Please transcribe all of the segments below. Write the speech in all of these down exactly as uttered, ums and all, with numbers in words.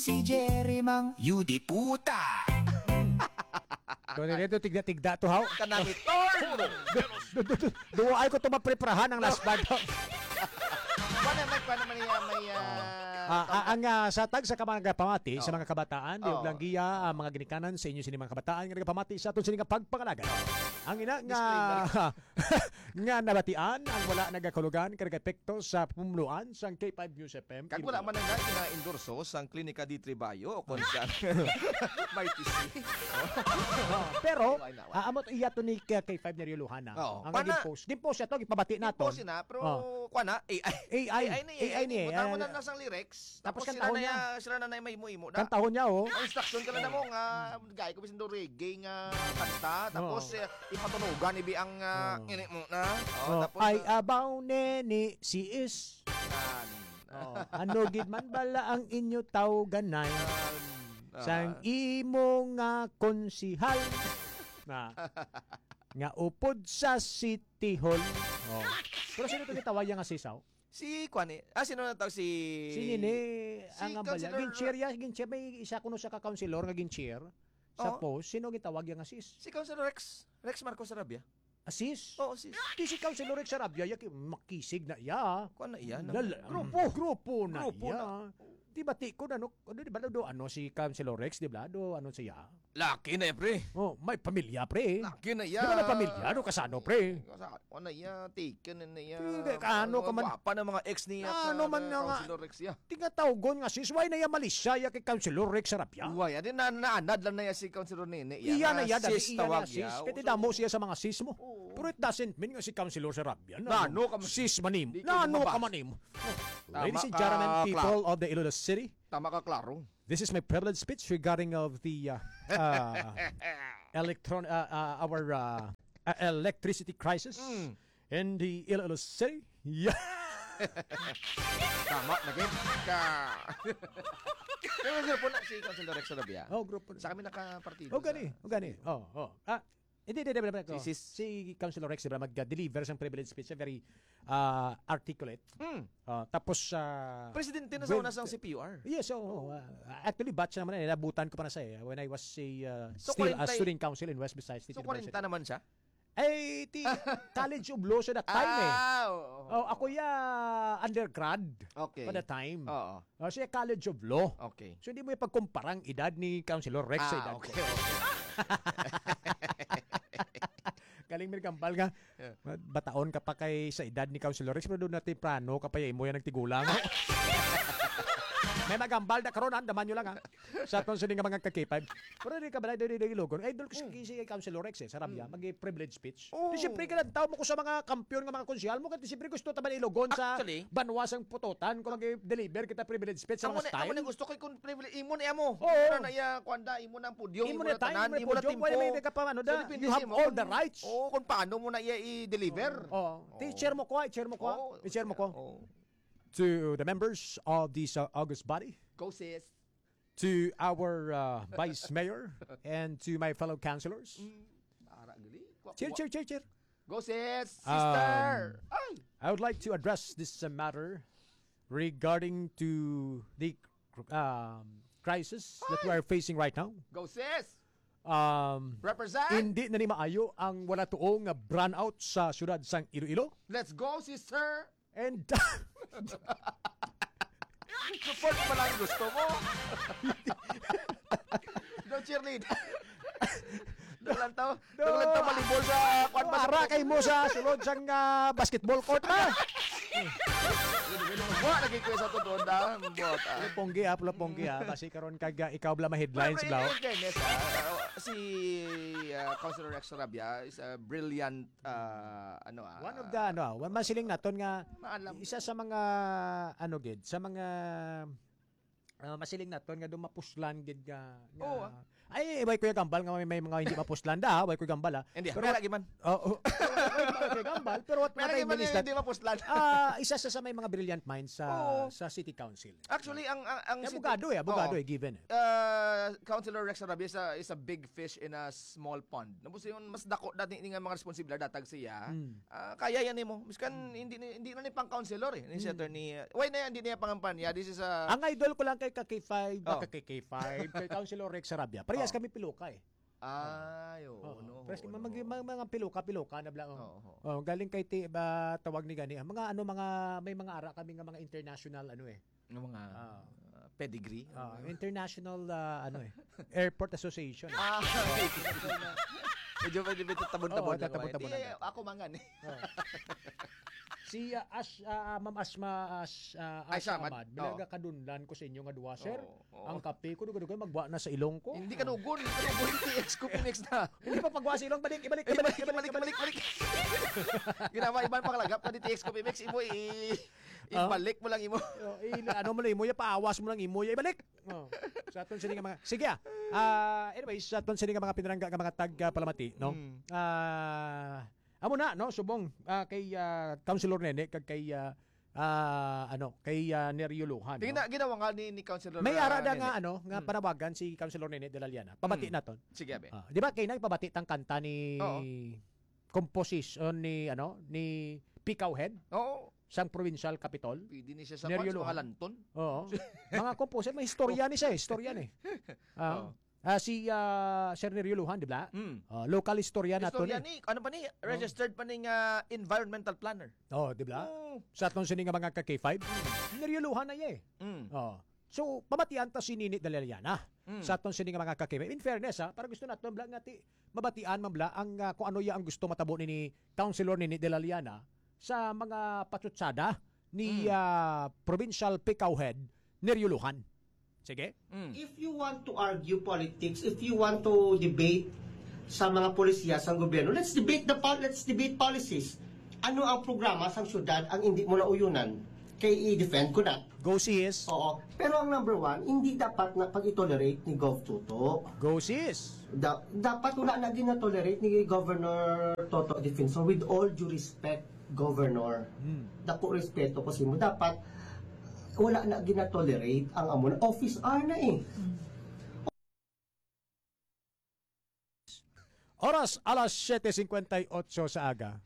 Si Jerry Mang Yudi puta. Doon na dito, tigda-tigda to, haw. Kanami, tol! Du- du- du- Duwa ay ko tumapreparahan ang last part. Wala, may, wala, may, ah, may, ah, Ah, ah, ang, ah, sa tag sa kamang nagapamati sa Oo. mga kabataan, di Oo. lang giya, ah, mga ginikanan sa inyo sini mga kabataan nga nagapamati sa aton sini nga pagpangalaga. Ang ina nga Disclaimer. nga nabatian ang wala nagakulugan kag epekto sa pumuluan sang K five News F M. Kag wala man nga gina-endorso sang Klinika D three Bayo o kung sa may T C. Oh, pero, Why not? ah, amo to iya to ni K five ni Rio Luhana. Oo. Ang Pana- gin-post. Gin-post siya to, gipabati na to. Gin-post na, pero Oh. kuha na, A I. A I. A I ni, A I ni, Butang mo ah, na lang sang lyrics. Tapos Tapos sila kantahon na niya. ya-, sila na na may imo-imo na. Kantahon niya, oh. Ang instruction ka na mo nga, gaya ko bisan do reggae nga kanta. Tapos, Oo. eh, ipatunugan, ibi ang, ah, Oo. ini mo na. Oh, Oo, tapos, ay ah, abaw neni si is. Yan. Oh, ano gid man bala ang inyo tawganan Yan. Ah. sang imo nga konsihal na nga upod sa City Hall. Oh. Pero sino to gitawag niya nga sisaw? Si Kwan eh. Ah, sino na tawag si Si Nini, si ang ambal niya. Councilor Gin-cheer ya, gin-cheer. May isa kuno sa ka-councilor nga gin-cheer sa Oo. post. Sino gitawag niya nga sis? Si Councilor Rex. Rex Marcos Sarabia. Ah, sis? Oo, sis. Di si Councilor Rex Sarabia, ya, ki-, makisig na iya. Kuwan na iya, no? Lala-, Grupo. grupo na Grupo iya. na. Di ba, ti-, kung ano, ano, di ba, do, ano, si Councilor Rex, di ba, do, ano siya? Laki na, pre. Oh, may pamilya, pre. Laki na iya. Di ba may pamilya? Ano, kasano, pre? Kasa-, ano iya, taken na iya. Pre, kaano ka man? Gwapa na mga ex niya Ano sa man nga nga? Councilor Rex iya. Tingatawgon nga sis, why na iya malisya iya kay Councilor Rex Sarabia? Why? Adi na, naanad lang na iya si Councilor Nene. Iya Iya na na iya, dati sis iya na tawag sis. iya. Kaya So, damo siya sa mga sis mo. Oo. Pero it doesn't mean nga si Councilor Sarabia. Na, Nano ka man? sis manim. Di ka Nano ka lumabas. manim? Tama Ladies and ka, gentlemen, Clark. people of the Iloilo City, Tama ka, klaro. This is my privilege speech regarding of the, uh, uh, electron-, uh, uh, our, uh, uh, electricity crisis Mm. in the Iloilo City. Yeah. Tama, lagi. Ka- Pero grupo na si Councilor Rex Sarabia. Oh, grupo na. Sa kami nakapartido Oh, gani. sa Oh, gani. Oh, oh. Ah, hindi, hindi, hindi, hindi. Si, si, si Councilor Rex, di ba, mag-deliver sang privilege speech, very, ah, articulate. Mm. Ah, tapos, ah, Presidente na sa with una sang C P U R. Yes, so, ah, actually, batch naman na, nabutan ko pa na sa, eh, when I was a, ah, So, still a kwarenta student council in West Visayas State So, University. kwarenta naman siya? Ay, ti-, College of Law sa that time, eh. Ah, oo, oo, Oh, oo. ako ya undergrad Okay. pa the time. Oo. Oh, siya College of Law. Okay. So, hindi mo ipagkumpara ang edad ni Councilor Rex sa Ah, edad okay, ko. okay. Galing, may gambal nga. Yeah. Bataon ka pa kay sa edad ni Councilor Rex, pero doon na temprano ka pa, ya imo yan nagtigulang. May magambal na karon, ha? Daman nyo lang, ha? Sa atong sini nga mga ka-K five. Pero di ka ba, di, di, di, Ilogon? Idol ko si, Mm. si Councilor Rex, eh, sa Rabia, Mm. mag-privilege speech. Oh. Di siyempre, kailangan tao mo ko sa mga kampiyon nga mga konsehal mo, kasi siyempre gusto ta man Ilogon sa Actually, banwa sang putotan kung mag-deliver kita privilege speech sa amo mga na, amo style. na gusto ko kung privilege, imo na amo. Oo. Imo na na iya, kuwan da, imo na ang podium, Imo imo na na time, tanan, imo na imo na podium, timpo. wala may ka pa, ano So, da, depende you sa have imo all kung, the rights. oo, kung paano mo na iya i-deliver. Oo. Oo. Ti-share mo ko, i-share mo ko. Oo. I-share mo ko. Oo. To the members of this, uh, august body, Go, sis. to our, uh, vice mayor, and to my fellow councilors. Mm. Ara, gali. Kwa-, Cheer, kwa- cheer, cheer, cheer. Go, sis. Um, Sister. Ay. I would like to address this, uh, matter regarding to the, um, crisis that we Ay. are facing right now. Go, sis. Um, Represent. Hindi na ni maayo ang wala tuo nga brownout sa siyudad sang Iloilo. Let's go, sister. And Support pa lang gusto mo. No cheerleader. Doon lang to. No. Doon lang to malibol sa kwan ba sa Ara kay mo sa sulod sang, ah, basketball court na. Wa lagi ko sa totoo na. Bot, ah. Pula ponggi, ah, pula ponggi, ah. Basi karon kag, ah, ikaw bala ma-headlines, Pero in, bro. in fairness, ah, si, ah, Councilor Rex Rabia is a brilliant, ah, ano, ah, One of the, ano, ah, one masiling naton nga Maalam. isa sa mga, ano, gid, sa mga, ah, masiling naton nga dumapuslan gid nga, nga Oo, ah. Ay, way ko yung gambal nga may, may mga hindi mapuslan da, ah. Way ko yung gambal, ah. Hindi, Pero may lagi man. Oo. Way ko yung gambal, pero what, May what I lagi man mean is yung that, hindi mapuslan. ah, isa sa, sa may mga brilliant minds sa, Oo. sa city council. Actually, ang, ang, ang Kaya city abogado eh, abogado Oo. eh, given eh. Ah, Councilor Rex Sarabia is a, is a big fish in a small pond. Tapos yun, mas dako dati nga mga responsibilidad datag siya. Mm. Ah, kaya yan mo. Miskan hindi ni- hindi na ni pang councilor eh, ni si Mm. attorney. Uh, why na yan? Hindi niya pangampanya. This is a Ang idol ko lang kay ka K five, Oh. baka kay K five, kay Councilor Rex Sarabia. Parehas Oh. kami piloka eh. Ay, oo, Oo. no, Parehas oo, kami no. mag- mag- mga piloka, piloka na bla. Oh. Oo, oo. Oh, galing kay ti ba tawag ni gani. Ang mga ano mga may mga ara kami nga mga international ano eh. Ng mga Ah. uh, pedigree. Ah, international ah, ano eh. Airport Association. Ah, medyo pwede ba ito tabon-tabon Oo, lang? tatabon-tabon Di, lang. Ako mangan eh. Oh. Si ah, Ash, ah, Ma'am Asma Ash, ah, Ay, Ash Samad. Amad, Oh. Bilaga kadunlan ko sa inyo nga duwa, sir. Oo, oo. Ang kape ko dugay-dugay magwa na sa ilong ko. Hindi ka dugon, hindi ka dugon, T X Coffee Mix na. Hindi pa pagwa sa ilong, balik, ibalik, Ibalik, ibalik, ibalik, ibalik, ibalik. Ginawa iban panglagap ka ni T X Coffee Mix, imo i Ah? ibalik mo lang imo. Oh, i- ano mo lang imo, ya paawas mo lang imo, ya ibalik. Oh. Sa aton sini nga mga sige ah. Ah, anyways, sa aton sini nga mga pinarangga nga mga tag ah, palamati, no? Mm. Ah, amo na no, subong ah, kay ah, Councilor Nene kag kay ah, ah, ano, kay ah, Nerio Lujan, Tingnan no? na, ginawa nga ni, ni Councilor May ah, ara da Nene. nga ano, nga Mm. panawagan si Councilor Nene de la Liana. Pabati Mm. naton. Sige, abe. Ah, di ba kay nagpabati tang kanta ni Oo. composition ni ano, ni Picowhead Oo. sang provincial capitol? Pwede ni siya sa Nerio kwan, sa mga Lujan. lanton. Oo. Mga composer, may istorya ni siya, eh, istorya ni. Ah, Oo. ah, si ah, Sir Nerio Lujan, di ba? Mm. Ah, local historian nato Istorya ni. ni, ano pa ni, registered pa ni nga environmental planner. Oh, di ba? Oo. Sa atong sini nga mga ka K five, Nerio Lujan na iya eh. Mm. Oh. So, pamatian ta si Nini Dalaliana Mm. sa atong sini nga mga ka K five. In fairness, ha, para gusto nato bla nga ti mabatian man bla ang ah, kung ano ya ang gusto matabo ni, ni Councilor Nini Dalaliana sa mga patsutsada ni Mm. ah, Provincial Picowhead Nerio Lujan. Sige. Mm. If you want to argue politics, if you want to debate sa mga polisiya sang gobyerno, let's debate the pol- let's debate policies. Ano ang programa sang syudad ang hindi mo nauyonan? Kay i-defend ko na. Go sis. Oo. Pero ang number one, hindi dapat na pag-tolerate ni Gov Toto. Go sis. Da- dapat wala na ginatolerate ni Governor Toto Defensor, with all due respect, Governor. Hmm. Dako respeto ko sa imo. Dapat wala na ginatolerate ang amo na office hour na eh. Oras alas siyete cincuenta y ocho sa aga.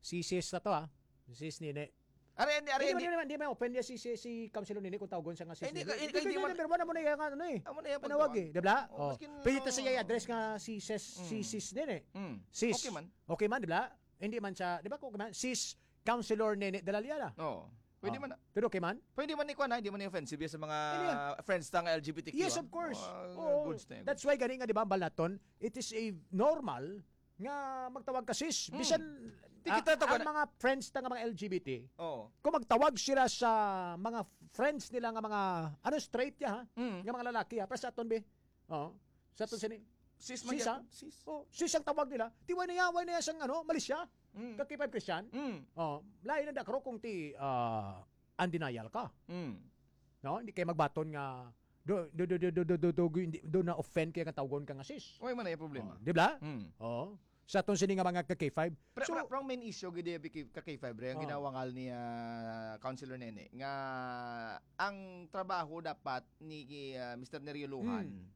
Si sis na to ah. Sis Nene. Ari, ari, ari, Hindi ari. man, hindi man, hindi man open niya si, si, si Councilor Nene kung tawgon siya nga sis Ay, hindi Nene. ka, hindi ka, hindi man. Number one, amo na yung ano eh. Amo na yung Panawagan, pagtawag. Di ba? Oh, Oh. Pwede ta siya i-address nga si sis, si Mm. sis Nene. Mm. Sis. Okay man. Okay man, di ba? Hindi man siya, di ba? Okay man, sis Councilor Nene Dalaliana. Oo. Pwede Ah. man na. Pero okay man? Pwede man ni kuwan, ah, hindi man ni offensive yan sa mga Hindi yan. friends ta nga L G B T Q, Yes, ah. of course. Ah, Oo. goods na yan, That's goods. why gani nga, di ba, balaton, it is a normal nga magtawag ka sis. Mm. Bisan Di ah, kita tawag ang na- mga friends ta nga mga L G B T, Oo. kung magtawag sila sa mga friends nila nga mga, ano, straight ya, ha? Mm. Nga mga lalaki, ha? Para sa aton, be? Oo. Sa aton sini. Sis man Sis, ha? yan. Sis. Oh, sis ang tawag nila. Ti, why na yan? Why na yan sang, ano, Malaysia? Mm. Ka K five Christian? Mm. Oh, lain na dakro kung ti, ah, undenial ka. Mm. No? Hindi kayo magbaton nga, do, do, do, do, do, do, do, do, hindi- do na offend kaya nga tawgon ka nga sis. Why man na yung problema? Oh, di ba? Mm. Oh. Sa aton sini nga mga ka K five. Pero, So, pero, pero ang main issue gid yung ka K five, Ray, ang Oh. ginawangal ni ah, Councilor Nene nga ang trabaho dapat ni ah, Mister Nerio Lujan Hmm.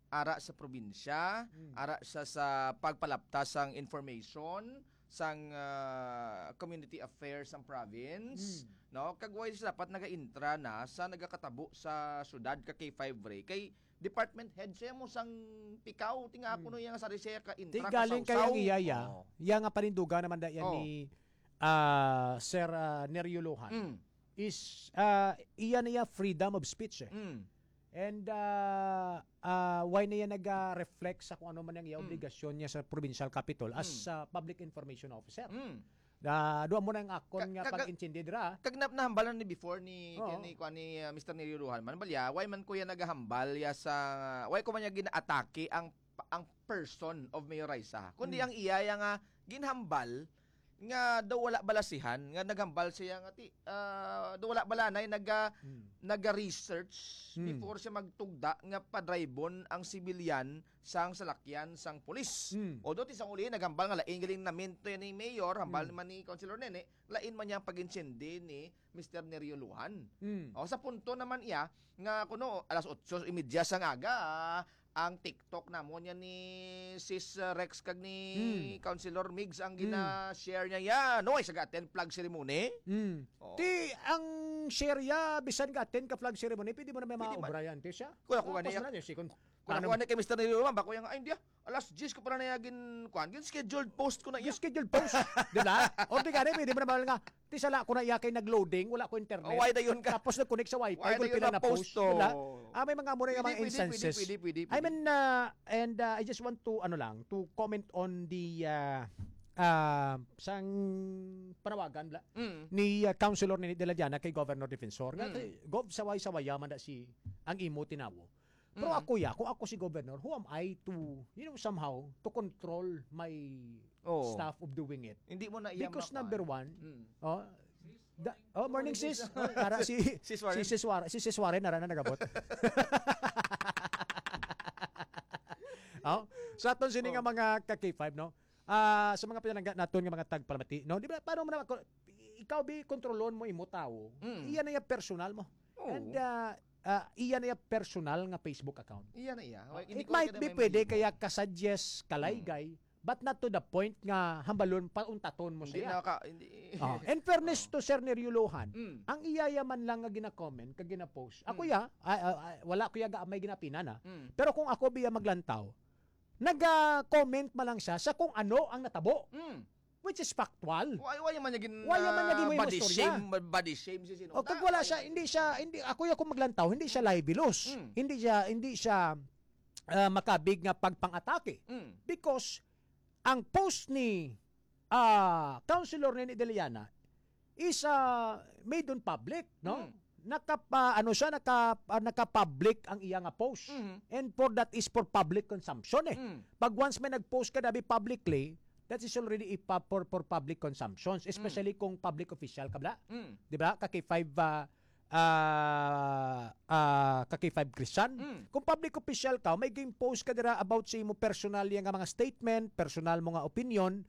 ara sa probinsya, Hmm. ara sa sa pagpalaptas sang information, sang ah, community affairs sang province, Hmm. no? Kag why siya dapat nagaintra na sa nagakatabo sa syudad ka K five, Ray? Kay department head siya mo sang pikaw, tinga ako Hmm. no yang sari siya ka Di intra galing kay ang kasawsaw. Iya, iya. Oo. Iya nga panindugan naman da yan Oo. ni ah, Sir ah, Nerio Lujan Mm. is ah, iya niya freedom of speech eh. Mm. And ah, ah, why niya nag-reflect sa kung ano man ang iya Mm. obligasyon niya sa provincial capitol as Mm. ah, public information officer? Mm. Ah, duha mo na ang akon Ka- nga kaga- pag-intindi dira. Kag na- nahambalan ni before ni Oo. ni kuan ni ah, Mister Nerio Lujan man balya, why man kuya nagahambal ya sa why ko man niya ginaatake ang ang person of Mayor Raisa, kundi Mm. ang iya ya nga ginhambal nga daw wala balasihan, nga naghambal siya nga ti, ah, daw wala balanay naga, Hmm. naga-research Hmm. before siya magtugda nga padraybon ang sibilyan sang salakyan sang pulis. Hmm. Although ti sang uli naghambal nga lain galing naminto ni Mayor, hambal Hmm. man ni Councilor Nene, lain man niya ang pag-insindi ni Mister Nerio Lujan. Hmm. O, sa punto naman iya nga kuno alas otso y media sang aga, ang TikTok namon yan ni Sis, uh, Rex kag ni Hmm. Councilor Migs ang Hmm. gina-share niya yan. No, ay, sa attend flag ceremony. Mm. Oo. Ti ang share ya bisan ka attend ka flag ceremony, pwede mo na may Pwede man. maobra yan, ti siya. Kung ako Tapos gani, na niya, si kon- Kung ano- ako ni kay Mister Nerio Lujan, bako yung, ay, hindi ah. Alas diyes ko pala na gin, kuan, gin scheduled post ko na iya. Yung scheduled post, di ba? O di gani, pwede mo na mahal nga. Ti sala ko na iya kay nag-loading, wala ko internet. Oh, why dayon ka? Tapos nag-connect sa wifi, Why kung dayon pila na na post, post to? Di ba? Ah, may mga amo na yung Pwede, mga pwede, instances. pwede, pwede, pwede. I mean, uh, and uh, I just want to, ano lang, to comment on the, uh, uh, sang panawagan bla, Mm. ni uh, Councilor Nini de la Llana kay Governor Defensor. Nga, Mm. kay Gov, saway-sawaya man na si ang imo tinawo. Pero Mm. ako ya, kung ako si Governor, who am I to, you know, somehow, to control my Oo. staff of doing it? Hindi mo na iya Because maka- number one, Mm. oh, da, oh, morning Morning, sis. sis. Oh, para si, Sis Warren. si Sis Warren, si Sis Warren, nara na nagabot. Oh, sa aton sini nga Oh. mga ka K five, no? Ah, sa mga pinalangga naton nga mga tagpalamati, no? Di ba, paano mo na, ikaw, bi, kontrolon mo imo tawo, Mm. iya na iya personal mo. Oo. And, ah, ah, iya na iya personal nga Facebook account. Iya na iya. Oh, Hindi it ko might kaya be may pwede mali. kaya kasuggest kalaygay, but not to the point nga hambalon, pauntaton mo Hindi siya. na ka, hindi. Oh, in fairness Oh. to Sir Nerio Lujan, Mm. ang iya ya man lang nga gina-comment kag gina-post. Ako Mm. ya, ah, ah, ah, wala ko ya ga may ginapina na. Mm. Pero kung ako biya maglantaw, naga-comment man lang siya sa kung ano ang natabo, Mm. which is factual. Why, why man niya gin, Why man niya ah, gin mo body istorya? shame, body shame si sino? O kag wala siya, hindi siya, hindi, ako yung kung maglantaw, hindi siya libelous. Mm. Hindi siya, hindi siya ah, makabig nga pagpang-atake. Mm. Because ang post ni ah, Councilor Nene de la Llana is ah, made on public, no? Mm. Nakapa, ano siya, naka, ah, naka-public ang iya nga post. Mhm. And for that is for public consumption eh. Mm. Pag once may nag-post ka dabi publicly, that is already a pub- for, for public consumptions, especially kung public official ka bla. Mm. Di ba? Ka K five, ah, ah, ah, ka K five Christian. Mm. Kung public official ka, may gin-post ka dira about sa imo personal ya nga mga statement, personal mo nga opinion,